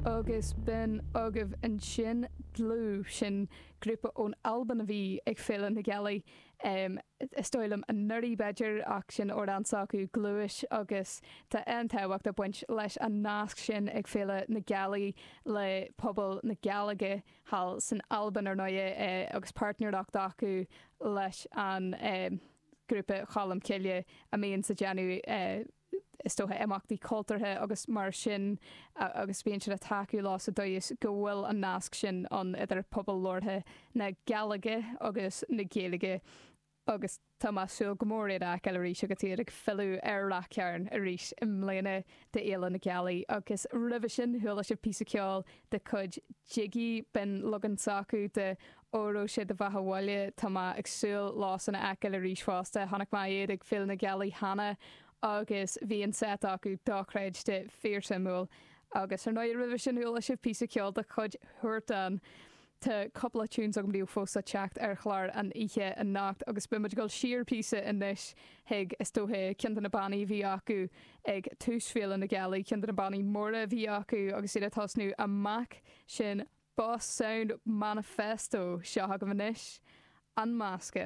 Agus b'in agaibh ansin Dlúth, sin grúpa ón Albain a bhí ag Féile na Gealaí, is dóigh liom anuraidh b'fhéidir, ach sin amhrán s'acu, Gluais, agus tá an-tábhacht ag baint leis an nasc sin ag Féile na Gealaí le pobal na Gàidhlige thall san Albain, ar ndóighe, agus páirtnéireacht acu leis an grúpa Cholm Cille a mbíonns ag déanamh. is dócha, imeachtaí cultúrtha agus mar sin agus bíonn siad ag tacú leo sa dóigh is go bhfuil an nasc sin ann idir pobal labhartha na Gàidhlige agus na Gaeilge agus tá mé ag súil go mór iad a fheiceáil arís agus iad ag filleadh ar Rath Cairn arís i mbliana d'Fhéile na Gealaí agus roimhe sin chuala sibh píosa ceoil de chuid Jiggy, b'in leagan s'acu de Óró Sé do Bheatha 'Bhaile. Tá mé ag súil leosan a fheiceáil arís fosta. Chonaic mé iad ag Féile na Gealaí cheana agus bhí an set acu dochreidte, fíorsuimiúil. Agus ar ndóigh roimhe sin chuala sibh píosa ceoil de chuid Huartan. Tá cúpla tunes agam daoibh fós le teacht ar chlár an oíche anocht agus beidh muid ag dul siar píosa anois chuig, is dócha, ceann de na bannaí a bhí acu ag tús Féile na Gealaí, ceann de na bannaí móra a bhí acu agus iad ag tosnú amach, sin Boss Sound Manifesto. Seo agaibh anois, An Masca.